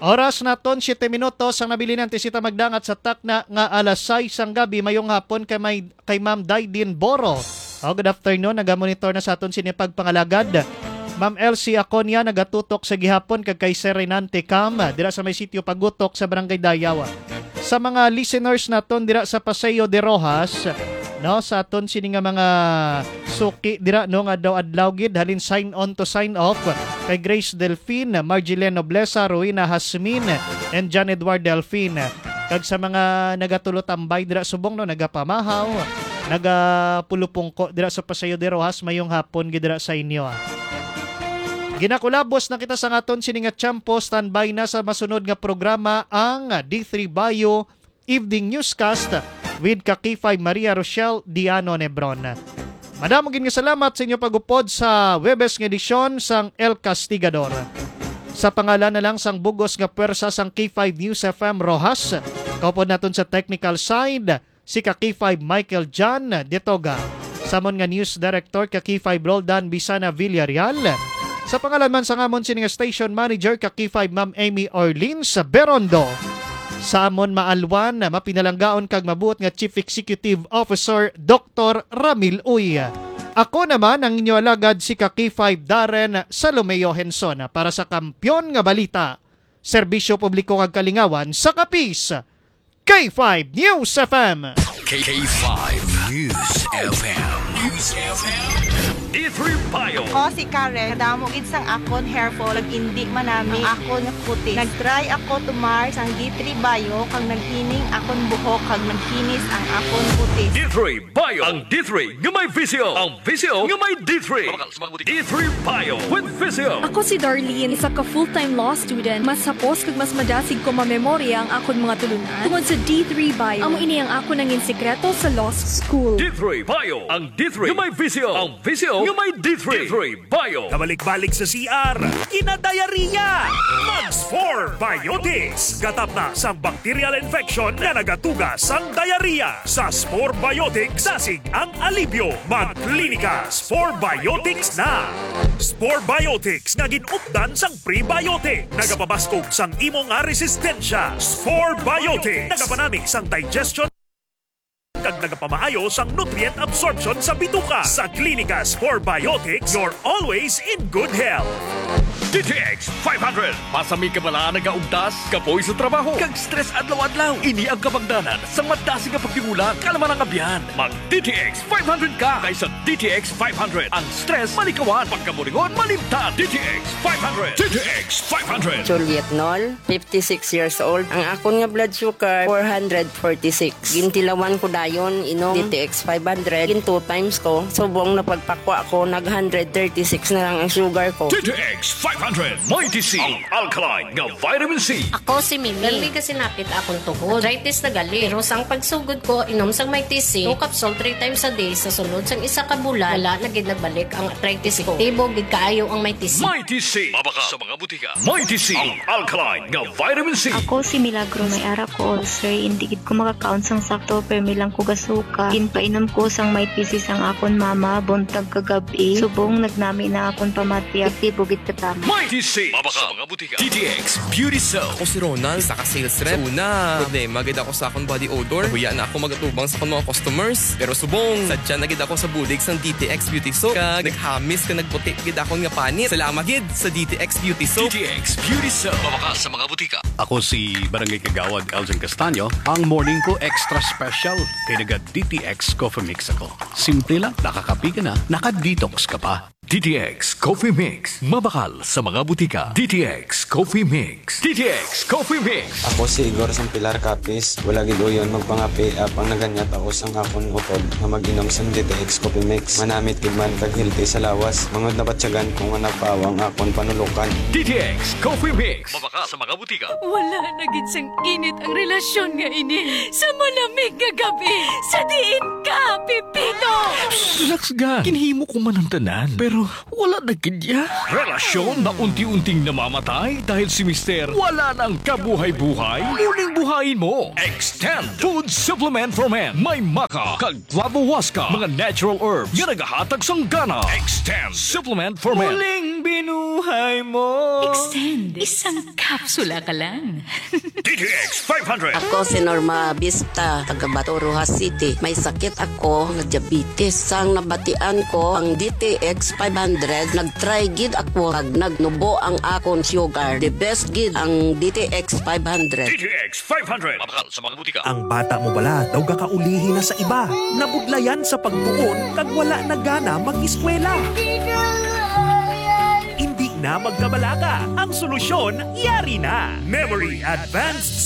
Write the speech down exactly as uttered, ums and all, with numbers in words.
Oras naton, siyete minutos ang nabilin ang tisita magdangat sa takna nga alas sais sang gabi. Mayong hapon kay may, kay Ma'am Daidin Boro. Oh, good afternoon. Nagamonitor na sa aton sini pagpangalagad. Ma'am Elsie Aconia nagatutok sa gihapon kag kay Sir Renante Cam dira sa may sitio Pagutok sa Barangay Dayaw. Sa mga listeners naton dira sa Paseo de Rojas, no, sa aton sini nga mga suki dira, no, nga daw adlaw gid halin sign on to sign off kay Grace Delfin, Margilene Noblesa, Rowena Hasmin, and John Edward Delfin. Kag sa mga nagatulotambay dira subong, no, nagapamahaw, nagapulupungko dira sa Paseo de Rojas, mayong hapon gid dira sa inyo, ah. Ginakulabos na kita sa aton sini nga tiyempo. Standby na sa masunod nga programa ang D three Bio Evening Newscast with ka K five Maria Rochelle Diano Nebron. Madamo gid nga salamat sa inyo pag-upod sa Webes nga edisyon sang El Castigador. Sa pangalan na lang sang bugos nga puwersa sang K five News F M Roxas, kaupod naton sa technical side, si ka K five Michael John Detoga. Samon nga News Director ka K five Roldan Bisana Villarreal. Sa pangalan man sang amon sini nga station manager ka K five Ma'am Amy Orleans Berondo. Sa amon maalwan, mapinalanggaon kag mabuot nga Chief Executive Officer Doktor Ramil Uy. Ako naman ang inyo alagad si ka K five Darren Salomeo Henson para sa Kampiyon nga Balita, Serbisyo Publiko kag Kalingawan sa Capiz. K five News F M. K five News F M. News F M. D three Bio. Ako si Karen. Kadamo gid sang akon hair fall, nag-indi manami ang akon kutis. Nag-try ako tumar sang D three Bio, kag naghining akon buhok, kag naghinis ang akon kutis. D three Bio. Ang D three nga may visyo. Ang visyo nga may D three. D three Bio with Visyo. Ako si Darlene, isa ka full-time law student. Mas hapos kag mas madasig ko mamemorya ang akon mga tulunan tungod sa D three Bio. Amo ini ang akon nangin sikreto sa law school. D three Bio, ang D three nga may visyo, ang visyo nga may D three. D three Bio. Kabalik-balik sa C R, kinadayariya. Mag Spore Biotics. Gatap na sang bacterial infection nga nagatuga sang diarrhea. Sa Spore Biotics, dasig ang alibyo. Mag Clinica Spore Biotics na. Spore Biotics nga gin-updan sang prebiotic. Nagapabaskog sang imo nga resistensya. Spore Biotics. Nagapanami sang digestion kag nagapamaayo sang nutrient absorption sa bituka. Sa Clinica Spore Biotics, you're always in good health. D T X five hundred. Pasami ka bala nagaugtas, kapoy sa trabaho, kag stress adlaw-adlaw. Ini ang kabangdanan sang madasig nga pagtingula, kalma nga abyan. Mag D T X five hundred ka kaysa D T X five hundred. Ang stress malikawan, pagkaburingon malimtan. D T X five hundred. D T X five hundred. Juliet Nol, fifty-six years old. Ang akon nga blood sugar, four hundred forty-six. Gintilawan ko dayon, inom D T X five hundred. Gin two times ko. Subong napagpakwa ko, nag hundred thirty-six na lang ang sugar ko. D T X five hundred, Mighty C, ang alkaline nga vitamin C. Ako si Mimi. Permi ka sinapit akon tuhod. Arthritis na gali. Pero sang pagsugod ko, inom sang Mighty C, two capsule three times a day, sa sulod sang isa ka bulan, wala na gid nagbalik ang arthritis ko. Epektibo gid kaayo ang Mighty C. Mighty C. Mabakal sa mga butika. Mighty C, ang alkaline nga vitamin C. Ako si Milagros. May ara ko ulcer, indi gid ko makakaon sang sakto, permi lang ko gasuka. Ginpainom ko sang Mighty C sang akon mama, buntag kag gab-i. Subong nagnami na akon pamati, epektibo gid katama. Mighty C, mabakal sa mga butika. D T X Beauty Soap. Ako si Ronald, isa ka sales rep. Sa una, problema gid ako sa akong body odor. Nahuya na ako magatubang sa akong mga customers. Pero subong, sadya na gid ako sa bulig sang D T X Beauty Soap. Kag naghamis kag nagputi gid akon nga panit. Salamat gid sa D T X Beauty Soap. D T X Beauty Soap. Mabakal sa mga butika. Ako si Barangay Kagawad Elgin Castaño. Ang morning ko extra special kay naga D T X Coffee Mix ako. Simple lang, nakakape ka na, naka-detox ka pa. D T X Coffee Mix. Mabakal sa mga butika. D T X Coffee Mix. D T X Coffee Mix. Ako si Igor sang Pilar Capiz. Wala gid uyon magpangape, apang naganyat ako sang akon utod nga mag-inom sang D T X Coffee Mix. Manamit gid man kag healthy sa lawas. Mangod nabatyagan ko nga napawa ang akon panulukan. D T X Coffee Mix. Mabakal sa mga butika. Wala na gid sang init ang relasyon nga ini sa malamig nga gabi. Sa diin ka, Pepito? Relax ka. Ginhimo ko man ang tanan, pero wala na gid niya. Relasyon na unti-unting namamatay dahil si Mister wala nang kabuhay-buhay. Muling buhayin mo. Extend Food Supplement for Men. May maca kag flavohuasca, mga natural herbs nga nagahatag sang gana. Extend Supplement for Men. Muling binuhay. Hay mo. Extend. Isang kapsula ka lang. D T X five hundred. Ako si Norma Vista, taga Bato, Roxas City. May sakit ako nga diabetes. Sang nabatian ko ang D T X five hundred, nag-try gid ako kag nagnubo ang akon sugar. The best gid ang D T X five hundred. D T X five hundred. Mabakal sa mga butika. Ang bata mo bala daw gakaulihi na sa iba, nabudlayan sa pagtuon kag wala na gana mag-eskwela? Hindi na magkabalaka. Ang solusyon, yari na. Memory Advanced